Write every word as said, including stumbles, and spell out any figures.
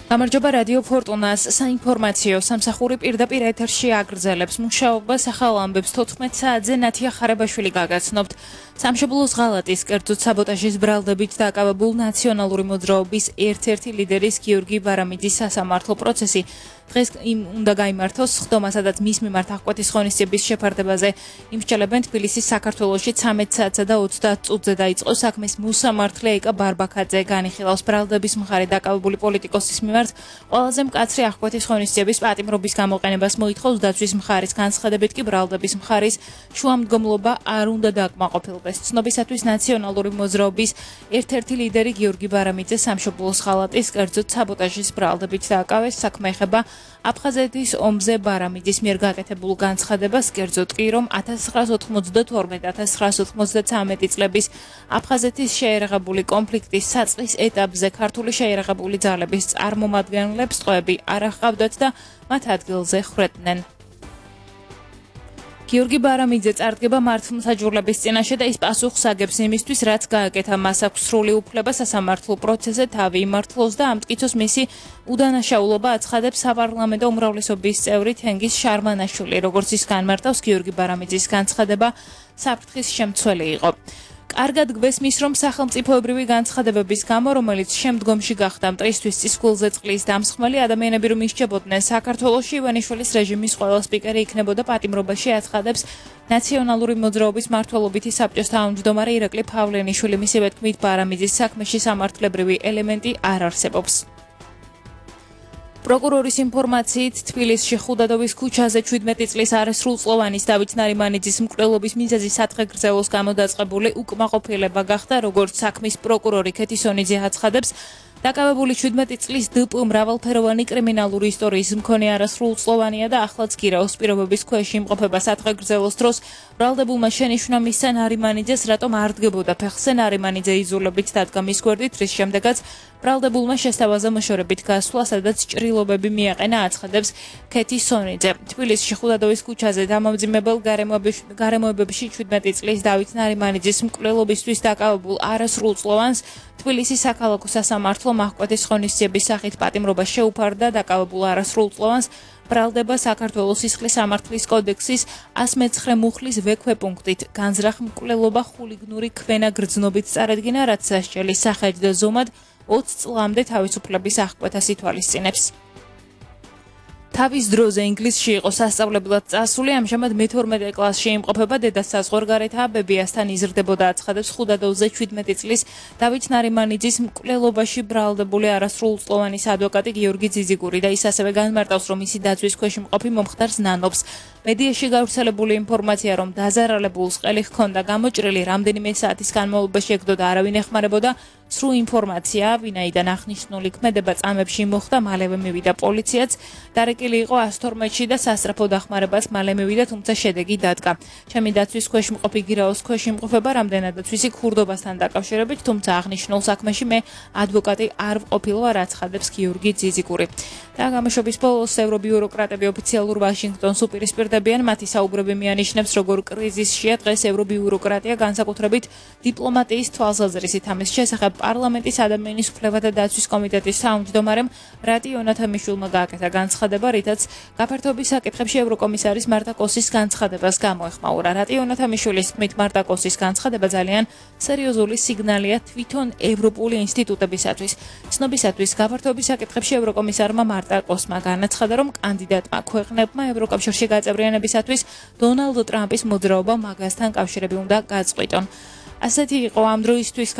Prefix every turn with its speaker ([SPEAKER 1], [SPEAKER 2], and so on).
[SPEAKER 1] გამარჯობა რადიო ფორტუნას საინფორმაციო სამსახური პირდაპირ ეთერში აგრძელებს მუშაობას ახალ ამბებს თოთხმეტ საათზე ნათია ხარებაშვილი გაგაცნობთ. სამშობლოს ღალატის კერძოდ საბოტაჟის ბრალდებით დაკავებულ ნაციონალური მოძრაობის ერთ-ერთი ლიდერის გიორგი ბარამიძის სასამართლო პროცესი დღეს იმ უნდა გაიმართოს ხდომა, სადაც მის მიმართ აღკვეთის ღონისძიების შეფარდებაზე იმსჯელებენ თბილისის საქართველოში ცამეტ საათსა და ოცდაათ წუთზე დაიწყო საქმის მოსამართლე ეკა ბარბაქაძე განიხილავს ბრალდების მხარე დაკავებული პოლიტიკოსის მიმართ ყველაზე მკაცრი აღკვეთის ღონისძიების პატიმრობის გამოყენებას მოითხოვს დაცვის მხარის განცხადებით კი ბრალდების მხარის შუამდგომლობა არ უნდა დააკმაყოფილდეს. ცნობისათვის ნაციონალური მოძრაობის ერთ-ერთი ლიდერი გიორგი ბარამიძე სამშობლოს ღალატის კერძოდ საბოტაჟის ბრალდებით დააკავეს. საქმე ეხება აფხაზეთის ომზე ბარამიძის მიერ გაკეთებულ განცხადებას, კერძოდ კი რომ ათას ცხრაას ოთხმოცდათორმეტ ათას ცხრაას ოთხმოცდათვრამეტი წლების აფხაზეთის შეერაღებული კონფლიქტის საწყის ეტაპზე ქართული შეერაღებული ძალების წარმომადგენლებს ტყვეები არ აჰყავდათ და მათ ადგილზე ხრედნენ. გიორგი ბარამიძე წარდგება მართლმსაჯულების წინაშე და ის პასუხს აგებს იმისთვის, რაც გააკეთა. მას აქვს სრული უფლება სასამართლო პროცესზე თავი იმართლოს და ამტკიცოს მისი უდანაშაულობა აცხადებს საპარლამენტო უმრავლესობის წევრი თენგიზ შარმანაშვილი. როგორც ის განმარტავს, გიორგი ბარამიძის განცხადება საფრთხის შემცველი იყო. კარგად გვესმის, რომ სახელმწიფოებრივი განცხადებების გამო, რომელიც შემდგომში გახდა მტრისთვის წისქვილზე წყლის დამსხმელი, ადამიანები რომ ისჯებოდნენ საქართველოში, ივანიშვილის რეჟიმის ყველა სპიკერი იქნებოდა პატიმრობაში, აცხადებს ნაციონალური მოძრაობის მმართველობითი საბჭოს თავმჯდომარე ირაკლი ფავლენიშვილი. მისივე თქმით, ბარამიძის საქმეში სამართლებრივი ელემენტი არ არსებობს. პროკურორის ინფორმაციით თბილისში ხუდადოვის ქუჩაზე შვიდმეტი წლის არასრულწლოვანის დავით ნარიმანიძის მკვლელობის მიზეზი სათხეგრძელოს გამო დაწყებული უკმაყოფილება გახდა, როგორც საქმის პროკურორი ქეთისონიძე აცხადებს. დაკავებული შვიდმეტი წლის დპ მრავალფეროვანი კრიმინალური ისტორიის მქონე არასრულწლოვანია და ახლაც გირაოს პირობების ქვეშ იმყოფება სათხეგრძელოს დროს ბრალდებულმა შენიშვნა მისცა ნარიმანიძეს, რატომ არ დგებოდა ფეხზე. ნარიმანიძე იზოლებით დადგა მის გვერდით, რის შემდეგაც ბრალდებულმა შესთავაზა მოშორებით გასვლა, სადაც ჭრილობები მიაყენა, აცხადებს ქეთისონიძე. თბილისში ხუდადოვის ქუჩაზე დამამძიმებელ გარემოებებში შვიდმეტი წლის დავით ნარიმანიძის მკვლელობისთვის დაკავებულ არასრულწლოვანს თბილისის საქალაქო სასამართლო აღკვეთის ღონისძიების სახით პატიმრობა შეუფარდა. დაკავებულ არასრულწლოვანს ბრალდება საქართველოს სისხლის სამართლის კოდექსის ას მეცხრე მუხლის ვექვეპუნქტით განზრახ მკვლელობა ხულიგნური ქვენა გრძნობით წარედგინა, რაც სასჯელის სახედ და ზომად ოცი წლამდე თავისუფლების აღკვეთას ითვალისწინებს. თავის დროზე ინგლისში იყო სასწავლებლად წასული, ამჟამად მეთორმეტე კლასში იმყოფება, დედა საზღვარგარეთაა, ბებიასთან იზრდებოდა, აცხადებს ხუდადოვზე შვიდმეტი წლის დავით ნარიმანიძის მკვლელობაში ბრალდებული არასრულწლოვანის ადვოკატი გიორგი ძიზიგური და ის ასევე განმარტავს, რომ მისი დაცვის ქვეშ მყოფი მომხდარს ნანობს. მედიაში გავრცელებული ინფორმაცია, რომ დაზარალებულს ყელი ჰქონდა გამოჭრილი, რამდენიმე საათის განმავლობაში ეკდოდა, არავინ ეხმარებოდა. სრულ ინფორმაცია, ვინაიდან აღნიშნული ქმედება წამებში მოხდა, მალევე მივიდა პოლიციაც, დარეკილი იყო ას თორმეტში და სასწრაფო დახმარებას მალე მივიდა, თუმცა შედეგი დადგა. ჩემი დაცვის ქვეშ მყოფი გირაოს ქვეშ იმყოფება, რამდენადაც ვიცი ქურდობასთან დაკავშირებით, თუმცა აღნიშნულ საქმეში მე ადვოკატი არ ვყოფილვარ, აცხადებს გიორგი ძიზიგური. და გამოშვების ბოლოს ევრობიუროკრატები ოფიციალურ ვაშინგტონს უპირისპირდებიან, მათი საუბრები მიანიშნებს, როგორ კრიზისშია დღეს ევრობიუროკრატია, განსაკუთრებით დიპლომატიის თვალსაზრისით. ამის შესახებ პარლამენტის ადამიანის უფლებათა დაცვის კომიტეტის თავმჯდომარემ რატიო ნათამიშვილმა გააკეთა განცხადება, რითაც გაფართოების საკითხებში ევროკომისარის მარტა კოსის განცხადებას გამოეხმაურა. რატიო ნათამიშვილის თქმით, მარტა კოსის განცხადება ძალიან სერიოზული სიგნალია თვითონ ევროპული ინსტიტუტებისათვის. ცნობისათვის გაფართოების საკითხებში ევროკომისარმა მარტა კოსმა განაცხადა, რომ კანდიდატმა ქვეყნებმა ევროკავშირში გაწევრიანებისათვის დონალდ ტრამპის მოძრაობა მაგასთან კავშირები უნდა გაწყვიტონ. ასეთი იყო ამ დროისთვის